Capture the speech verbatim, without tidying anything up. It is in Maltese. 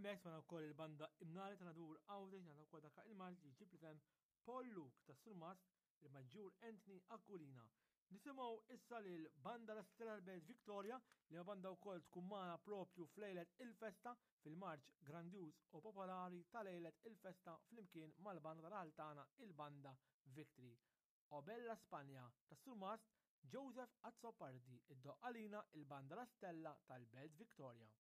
Hemmhekk smajna wkoll il-banda Imnari ta' Nadur Għawdex ngħata wkoll dak il-marċ li jġib l-isem Paul Luke tas-Surmast il-Maġġur Anthony Aquilina. Nisimgħu issa lil banda La Stella Belt Victoria li ma banda wkoll tkun magħna propju f'lejlet il-festa fil-marċ grandjuż u popolari ta' lejlet il-festa flimkien mal-banda tal-Altana il-banda Victory. O Bella Spanja tas-Surmast Joseph Azzopardi iddoqq għalina il-banda La Stella tal-Belt Victoria.